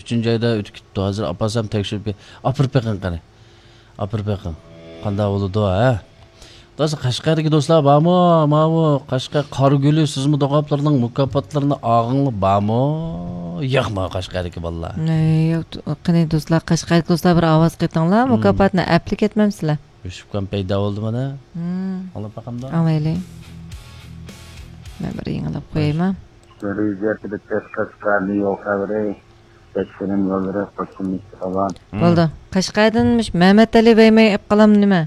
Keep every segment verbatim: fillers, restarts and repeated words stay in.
ئۈچىنچى ئايدا ئۆتۈپ كېتىپتۇ. ھازىر ئاپارسام تەكشۈرۈپ بېرىپ، ئاپىرىپ بېقىڭ قېنى. ئاپىرىپ بېقىڭ. قانداق بولىدۇ، ھە؟ دوستلار، قەشقەردىكى دوستلار بارمۇ؟ ماۋۇ قەشقەر قارا گۈلى سۈزمە دوغاپلىرىنىڭ مۇكاپاتلىرىنى ئالغانلار بارمۇ؟ ياقمۇ قەشقەردىكى بالىلار؟ ئەي، قېنى دوستلار، قەشقەردىكى دوستلار بىر ئاۋاز قېتىڭلار، مم، مۇكاپاتنى ئەپلا كەتمەمسىلەر؟ ئۆشۈپكەن پەيدا بولدى مانا. مم. ئاڭلاپ باقامدا؟ ئاڭلايلى. مەن بىر يېڭىلاپ قويايما؟ رېزىيەتلىك قەشقەرنى يول خەۋىرى. بەشكىرىم يوللىرى قوشۇلمىشى راۋان. مم. بولدى. قەشقەردىن مۇش مەمەتئەلى ۋەيمەي ئېپ قالام نېمە؟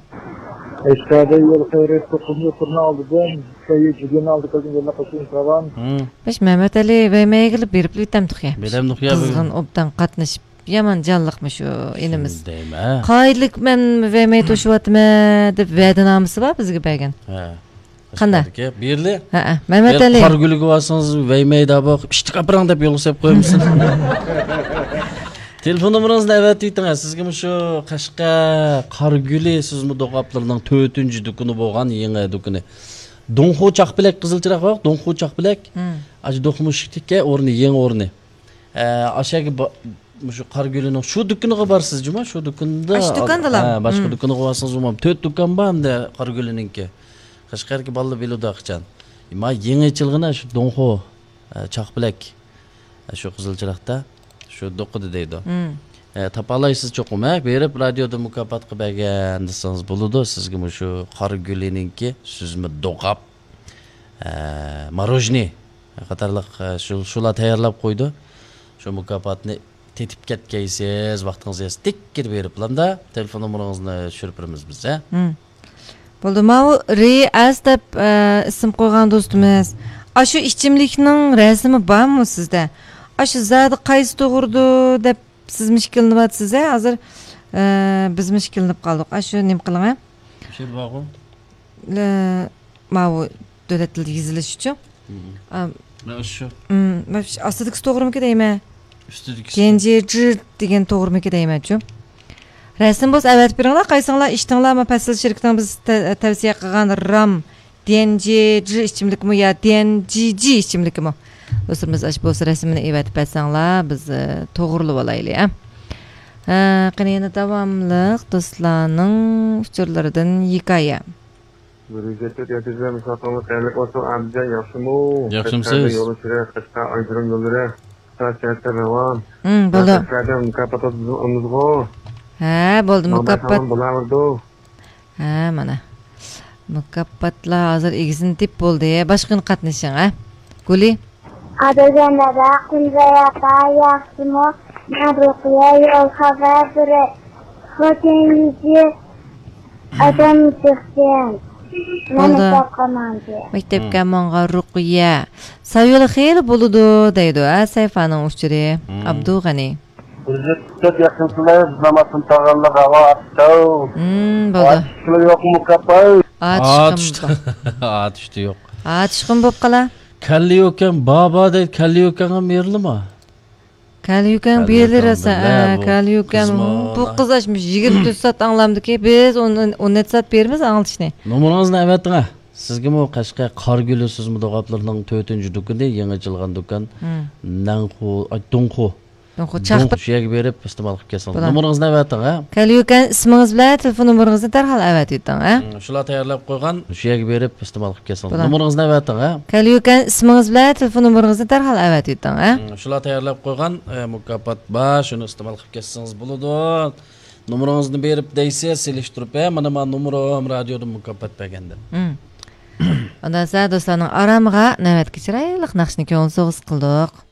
قەشقەردە يول خەۋىرى توققۇزىنچى تۈرنىڭ ئالدىدىن، سەييىد جۈگۈننىڭ ئالدى كەلگەن يوللار قوشۇلمىشى راۋان. مم. مۇش مەمەتئەلى ۋەيمەيگىلا بېرىپ ئۆتەمدۇق يا. بېرەمدۇق يا. قىزغىن ئوبدان قاتنىشىپ، يامان جانلىقمۇ شۇ ئىنىمىز. شۇنى دەيمەن. قايىللىق مەن ۋەيمەي توشۇۋاتىمەن دەپ ۋەدىنامىسى بار بىزگە بەرگەن. ھە. قانداق؟ قەشقەردىكى بىرلى. ھەئە، مەمەتئەلى. قارا گۈلىگە بارسىڭىز، ۋەيمەيدا بۇ ئىشتىك ئاپىرىڭ دەپ يولغا سېلىپ قويمىسۇن. تېلېفون نومۇرىڭىزنى ئەۋەتىۋېتىڭ، سىزگە مۇشۇ قەشقەر قارا گۈلى سۈزمە دوغاپلىرىنىڭ تۆتىنچى دۇكىنى بولغان يېڭى دۇكىنى. دۇڭخۇ چاقپەلەك، قىزىل چىراغ بار، دۇڭخۇ چاقپەلەك. مم. ئاشۇ دوقمۇشۇكتىكى ئورنى، يېڭى ئورنى. ئە، ئاشەگە با-، مۇشۇ قارا گۈلىنىڭ شۇ دۇكىنىغا بارسىز جۇما، شۇ دۇكىندا. ئاشۇ دۇكاندىلا؟ ھە، باشقا، مم، دۇكىنىغا بارسىڭىز بولمام. تۆت دۇكان بار ئەمدى قارا گۈلىنىڭكى. قەشقەردىكى بالىلار بىلىدۇ قاچان. ما يېڭى ئېچىلغىنى شۇ دۇڭخۇ، ئە، چاقپەلەك. ئە، شۇ قىزىل چىراغدا. شۇ دوقىدا دەيدۇ. مم. ئە، تاپالايسىز چوقۇم، ھە؟ بېرىپ رادىيودا مۇكاپاتقا بەرگەن دېسىڭىز بولىدۇ. سىزگە مۇشۇ قارا گۈلىنىڭكى سۈزمە دوغاپ. ئە، ماروژنى قاتارلىق، ئە، شۇ، شۇلار تەييارلاپ قويىدۇ. شۇ مۇكاپاتنى تېتىپ كەتكەيسىز، ۋاقتىڭىز يەتسە تىككىدە بېرىپلامدا تېلېفون نومۇرىڭىزنى چۈشۈرۈپ بېرىمىز بىز، ھە؟ مم. بولدى، ماۋۇ رىئاز دەپ، ئە، ئىسىم قويغان دوستىمىز. ئاشۇ ئىچىملىكنىڭ رەسىمى بارمۇ سىزدە؟ ئاشۇ زادى قايسى توغرىدۇ دەپ سىزمۇ ئىككىلىنىۋاتىسىز، ھە؟ ھازىر، ئە، بىزمۇ ئىككىلىنىپ قالدۇق. ئاشۇ نېمە قىلىڭ، ھە؟ شۇ بارغۇ. ئە، ماۋۇ دۆلەت تىلىدا يېزىلىش ئۈچۈن. مم. ئا، مانا شۇ. مم، مانا شۇ ئاستىدىكىسى توغرىمىكى دەيمەن؟ ئۈستىدىكىسى. ديەنجيېجى دېگەن توغرىمىكى دەيمەنچۇ؟ رەسىم بولسا ئەۋەتىپ بېرىڭلار، قايسىڭلار ئىچتىڭلار، ما پەسىل شىركىتىنىڭ بىز تە-، تەۋسىيە قىلغان رام ديەنجيېجى ئىچىملىكىمۇ يا ديەنجيېجى ئىچىملىكىمۇ؟ دوستلىرىمىز ئاشۇ بولسا رەسىمىنى ئېۋەتىپ بەرسەڭلار، بىز، ئە، توغرىلىۋالايلى، ئە. ئە، قېنى يەنە داۋاملىق دوستلارنىڭ ئۇچۇرلىرىدىن ھېكايە. بىر يۈز يەتتە يەتتە يۈز مۇساپىرىڭىز قەيەرلىك بولسۇن، ئابىدجان ياخشىمۇ؟ ياخشىمۇسىز؟ قەشقەردە يول ئۇچۇرى، قەشقەر ئايرودروم يوللىرى، سائەت سائەتتە راۋان. ھىم، بولدى. قەشقەردە مۇكاپات ئالىمىزغۇ. ھە، بولدى، مۇكاپات. بولىۋېرىدۇ. ھە، مانا. مۇكاپاتلار ھازىر ئېگىزىنى تېپىپ بولدى. باشقا كۈنى قاتنىشىڭ، ھە؟ گۈلى. ئادىلجان دادا، قۇنزاي ئاپا، ياخشىمۇ؟ مەن رۇقىيە، يول خەۋەر بېرەي. خوتەن يۈزى ئادەم چىقسۇن. مەن بولدى. مەكتەپكە ماڭدى. مەكتەپكە ماڭغان رۇقىيە. سايۇلى خېلى بولىدۇ دەيدۇ، ھە، سەيفانىڭ ئۇچۇرى. مم. ئابدۇغەنى. بىز تۆت ياخشىمۇسىلەر، بىز نامازدىن تاغانلار ھاۋا ئاتتاو. مم، بولدى. ئاتۇشتى يوقمۇ، كاپاي؟ ئاتۇشقىمۇ. ئاتۇشتى يوق. ئاتۇشقىمۇ بولۇپ قالا. كەللە يوكەن، بابا دەيدۇ، كەللە يوكەنغا مېرىلىما؟ كەللە يوكەن بېرىلىراسا، بىللە، ئە، بۇ كەللە يوكەن. قىزمۇ بۇ قىز ئاشمىش يىگىرمە تۆت سائەت ئاڭلامدىكى، بىز ئون، ئون نەچچە سائەت بېرىمىز ئاڭلىتىشنى. نومۇرىڭىزنى ئەۋەتىڭە. سىزگىمۇ قەشقەر قارا گۈلى سۈزمە دوغاپلىرىنىڭ تۆتىنچى دۇكىنى، يېڭى ئېچىلغان دۇكان. مم. نەنخۇ، ئاي، دۇڭخۇ. دۇڭخۇ، دۇڭخۇ، چاقپەت. شۇ يەرگە بېرىپ ئىستېمال قىلىپ كەلسىڭىز. بولار. نومۇرىڭىزنى ئەۋەتىڭ، ھە؟ كەللە يوكەن ئىسمىڭىز بىلەن تېلېفون نومۇرىڭىزنى دەرھال ئەۋەتىۋېتىڭ، ھە؟ مم، شۇلار تەييارلاپ قويغان، شۇ يەرگە بېرىپ ئىستېمال قىلىپ كەلسىڭىز. بولار. نومۇرىڭىزنى ئەۋەتىڭ، ھە؟ كەللە يوكەن ئىسمىڭىز بىلەن تېلېفون نومۇرىڭىزنى دەرھال ئەۋەتىۋېتىڭ، ھە؟ مم، شۇلار تەييارلاپ قويغان، ئە، مۇكاپات بار، شۇنى ئىستېمال قىلىپ كەتسىڭىز بولىدۇ. نومۇرىڭىزنى بېرىپ دەيسىز، سېلىشتۇرۇپ، ھە، مانا، مانا نومۇرۇم، رادىيودىن مۇكاپات بەرگەندىن. مم. ئۇنداق بولسا دوستلارنىڭ ئارامىغا نۆۋەتتىكى چىرايلىق ناخشىنى كۆڭۈل سوۋغىسى قىلدۇق.